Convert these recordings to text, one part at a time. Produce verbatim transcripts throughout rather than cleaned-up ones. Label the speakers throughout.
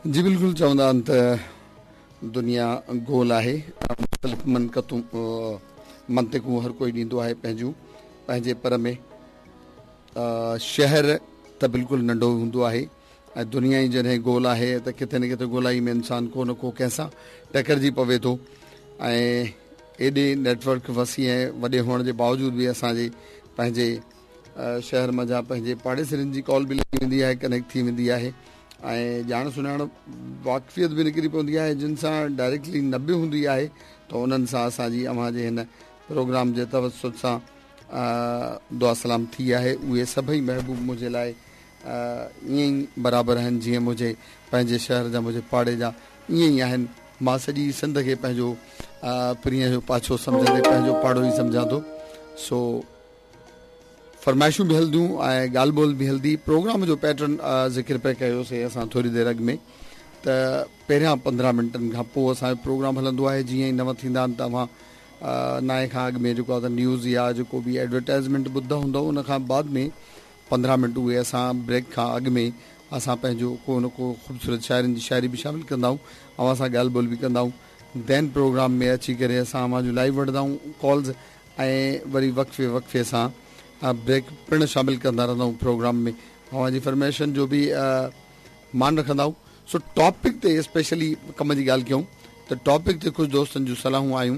Speaker 1: जी बिल्कुलु चवंदा आहिनि त दुनिया गोल आहे, मुख़्तलिफ़ मनकतूं मंतिकूं हर कोई ॾींदो आहे पंहिंजूं पंहिंजे पर में। शहर त बिल्कुलु नंढो हूंदो आहे ऐं दुनिया ई जॾहिं गोल आहे त किथे न किथे गोलाई में इंसान को न को कंहिंसां टकरिजी पवे थो। ऐं एॾे नेटवर्क वसी ऐं वॾे हुअण जे बावजूद बि असांजे पंहिंजे शहर मंझां पंहिंजे पाड़ेसरियुनि जी कॉल बि लॻी वेंदी आहे, कनेक्ट थी वेंदी आहे ऐं ॼाण सुञाण वाक़फ़ियत बि निकिरी पवंदी आहे। जिन सां डायरेक्टली न बि हूंदी आहे त उन्हनि सां असांजी अव्हांजे हिन प्रोग्राम जे तवसुत सां दुआ सलाम थी आहे। उहे सभई महबूब मुंहिंजे लाइ ईअं ई बराबरि आहिनि जीअं मुंहिंजे पंहिंजे शहर जा मुंहिंजे पाड़े जा ईअं ई आहिनि। मां सॼी सिंध खे पंहिंजो परींअ जो पाछो सम्झंदे पंहिंजो पाड़ो ई सम्झां थो। सो फरमाइशूं बि हलंदियूं ऐं ॻाल्हि ॿोल बि हलंदी। प्रोग्राम जो पैटर्न ज़िक्र पिए कयोसीं असां थोरी देरि अॻु में त पहिरियां पंद्रहं मिंटनि खां पोइ असांजो प्रोग्राम हलंदो आहे। जीअं ई नव थींदा आहिनि त अव्हां नाए खां अॻु में जेको आहे त न्यूज़ या जेको बि एडवर्टाइज़मेंट ॿुधंदा हूंदव, उन खां बाद में पंद्रहं मिंट उहे असां ब्रेक खां अॻु में असां पंहिंजो को न को ख़ूबसूरत शाइरनि जी शाइरी बि शामिल कंदा आहियूं, अव्हां सां ॻाल्हि ॿोल बि कंदा आहियूं। Then programme में अची करे असां अव्हां जो लाइव वठंदा आहियूं कॉल्स ऐं वरी वक़्फ़े वक़्फ़े सां ब्रेक पिणु शामिल कंदा रहंदा आहियूं प्रोग्राम में। अव्हांजी फरमाइशनि जो बि मान रखंदा आहियूं। सो टॉपिक ते स्पेशली कम जी ॻाल्हि कयूं त टॉपिक ते कुझु दोस्तनि जूं सलाहूं आयूं,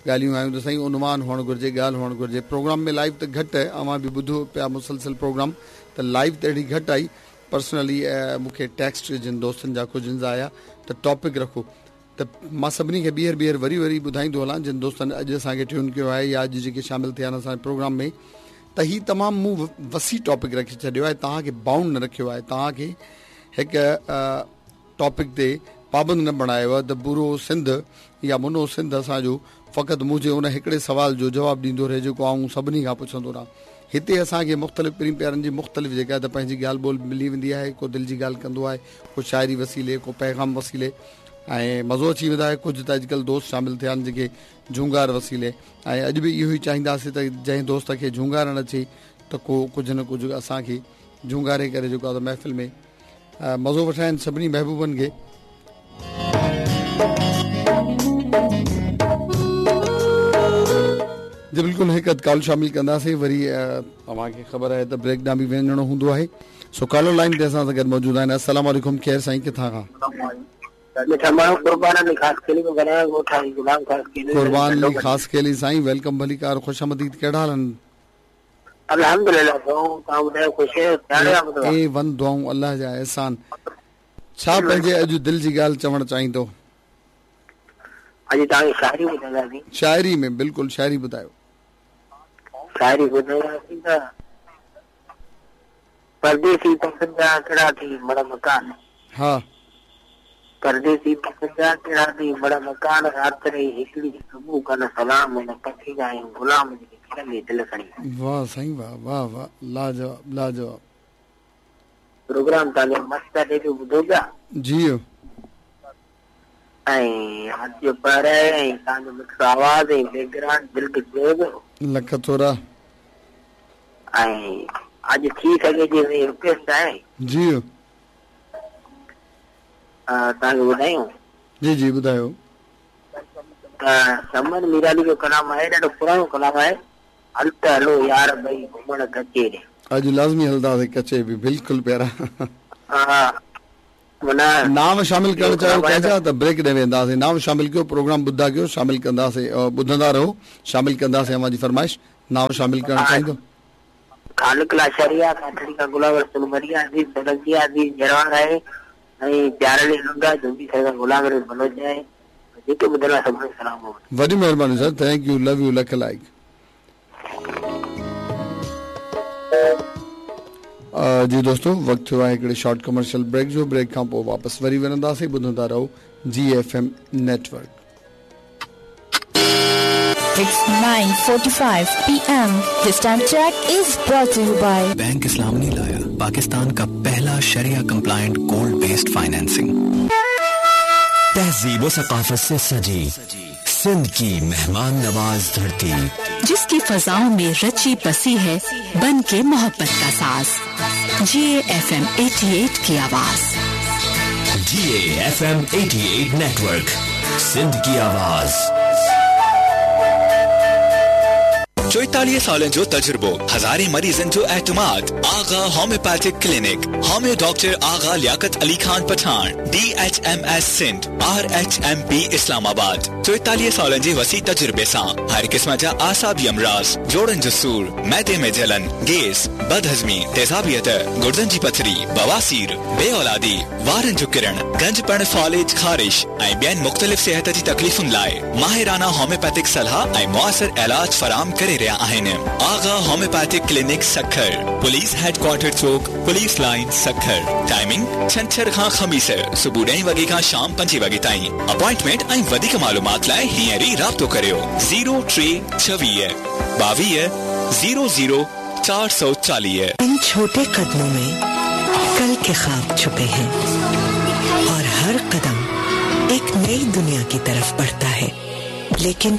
Speaker 1: ॻाल्हियूं आयूं त साईं उनवान हुअणु घुरिजे, ॻाल्हि हुअणु घुरिजे। प्रोग्राम में लाइव त घटि आहे, अव्हां बि ॿुधो पिया मुसलसल प्रोग्राम त लाइव त अहिड़ी घटि आई। पर्सनली मूंखे टेक्स्ट जिन दोस्तनि जा कुझु आया त टॉपिक रखो त मां सभिनी खे ॿीहर ॿीहर वरी वरी ॿुधाईंदो हलां। जिन दोस्तनि अॼु असांखे ट्यून कयो आहे या अॼु जेके शामिल थिया आहिनि असांजे प्रोग्राम में, त हीउ तमामु मूं वसी टॉपिक रखी छॾियो आहे, तव्हांखे बाउंड न रखियो आहे, तव्हांखे हिकु टॉपिक ते पाबंद न बणायो आहे त पूरो सिंध या मुनो सिंध असांजो फ़क़ति मुंहिंजे उन हिकिड़े सवाल जो जवाबु ॾींदो रहे जेको आउं सभिनी खां पुछंदो रहां। हिते असांखे मुख़्तलिफ़ परीं प्यारनि जी मुख़्तलिफ़ जेका त पंहिंजी ॻाल्हि ॿोल मिली वेंदी आहे। को दिलि जी ॻाल्हि कंदो आहे, को शाइरी वसीले, को पैगाम वसीले ऐं मज़ो अची वेंदो आहे। कुझु त अॼुकल्ह दोस्त शामिल थिया आहिनि जेके झूंगार वसीले, ऐं अॼु बि इहो ई चाहींदासीं त जंहिं दोस्त खे झूंगारणु अचे त को कुझु न कुझु असांखे झूंगारे करे जेको आहे त महफ़िल में मज़ो वठाइनि सभिनी महबूबनि खे। जी बिल्कुलु हिकु अधु कॉल शामिल कंदासीं, वरी तव्हांखे ख़बर आहे त ब्रेक ॾांहुं बि वञिणो हूंदो आहे। सो कॉलर लाइन ते असां सां गॾु मौजूदु आहिनि। अस्सलाम वालेकुम, खैर साईं, किथां खां? कुर्बान अली ख़ासखेली साईं, welcome भलीकार, ख़ुश आमदीद। कहिड़ा हाल आहिनि?
Speaker 2: अल्हम्दुलिल्लाह, तव्हां ॿुधायो, ख़ुशि आहियो?
Speaker 1: ए वन दुआऊं, अल्लाह जा एहसान। छा पंहिंजे अॼु दिलि जी ॻाल्हि चवणु चाहींदो?
Speaker 2: अॼु तव्हांखे शाइरी ॿुधाईंदासीं।
Speaker 1: शाइरी में बिल्कुलु शाइरी ॿुधायो।
Speaker 2: शाइरी ॿुधाईंदासीं त परदेसी पसंद जा कहिड़ा थी बड़ा मकान।
Speaker 1: हा,
Speaker 2: परदेसी पसंद जा कहिड़ा थी बड़ा मकान, राति रही हिकिड़ी सुबुह कन सलाम, न पखी जा आहियूं ग़ुलाम जी खिलंदी दिलि खणी।
Speaker 1: वाह साईं वाह वाह वाह, लाजवाब लाजवाब।
Speaker 2: प्रोग्राम तव्हांजो मस्त आहे, ॾाढो ॿुधो पिया।
Speaker 1: जी,
Speaker 2: ऐं राति जो पहर आहे ऐं तव्हांजो मिठो आवाज़ ऐं बैकग्राउंड दिलि खे छुए पियो।
Speaker 1: लख थोरा।
Speaker 2: ऐं अॼु थी सघे जी रिक्वेस्ट आहे।
Speaker 1: जी,
Speaker 2: तव्हांखे ॿुधायूं?
Speaker 1: जी जी ॿुधायो।
Speaker 2: त समन मीराली जो कलाम आहे, ॾाढो पुराणो कलाम आहे, हल त हलो यार भई घुमण कचे रे।
Speaker 1: अॼु लाज़मी हलंदासीं कचे बि, बिल्कुलु प्यारा।
Speaker 2: हा,
Speaker 1: नाम शामिल करणु चाहियो कंहिंजा त ब्रेक ॾे वेंदासीं। नाम शामिल कयो, प्रोग्राम ॿुधा कयो, शामिल कंदासीं, ॿुधंदा रहो, शामिल कंदासीं अव्हांजी फरमाइश। नाम शामिल करणु चाहींदो?
Speaker 2: खालिक लाशारी आहे, काठड़ी खां गुलाब रसूल मरी आहे, अज़ीज़ सोलंकी आहे, अज़ीज़ जरवार आहे ऐं प्यारली लुंडा झुंडी साहिब गुलाम रसूल बलोच आहे। जेके ॿुधल आहे सभिनी खे सलाम।
Speaker 1: वॾी महिरबानी sir, thank you, love you, lakh like. जी दोस्तों, वक़्तु थियो आहे हिकिड़े शॉर्ट कमर्शियल ब्रेक जो। ब्रेक खां पोइ वापसि वरी वञंदासीं। ॿुधंदा रहो जी F M network.
Speaker 3: It's nine forty-five P M. This time check is brought to you by
Speaker 4: bank Islami लाया पाकिस्तान का पहला शरिया कंप्लायंट गोल्ड बेस्ड फाइनेंसिंग।
Speaker 5: तहजीब व सकाफत से सजी सिंध की मेहमान नवाज धरती,
Speaker 3: जिसकी फजाओं में रची बसी है बन के मोहब्बत का साज। जी एफ एम अठासी की आवाज।
Speaker 5: D A F M अठासी नेटवर्क, सिंध की आवाज़।
Speaker 4: चोएतालीह सालनि जो तजुर्बो, हज़ारे मरीज़नि जो एतमाद। Agha homeopathic clinic, homeo doctor Agha Liaquat Ali Khan Pathan, D H M S Sindh, R H M P Islamabad. चोएतालीह सालनि जे वसी तजुर्बे सां हर क़िस्म जा आसाबी अमराज़, जोड़नि जो सूर, मैदे में जलन, गैस, बदहज़मी, तेज़ाबियत, गुर्दनि जी पथरी, बवासीर, बे औलादी, वारनि जो किरण, गंजपण, फालिज, ख़ारिश ऐं ॿियनि मुख़्तलिफ़ सिहत जी तकलीफ़ुनि लाइ माहिराना होम्योपैथिक सलाह ऐं मुआसिर इलाज फराहम करे रहिया आहिनि। Agha homeopathic clinic Sukkur, police headquarter Chowk, police line Sukkur. Timing छंछर खां ख़मीस सुबुह ॾहें वॻे खां शाम पंजे वॻे ताईं। अपॉइंटमेंट ऐं वधीक मालूमात लाइ हींअर ई राब्तो करियो ज़ीरो टे छवीह ॿावीह ज़ीरो ज़ीरो चार सौ चालीह।
Speaker 6: इन छोटे कदमों में कल के ख्वाब छुपे हैं और हर कदम एक नई दुनिया की तरफ बढ़ता है, लेकिन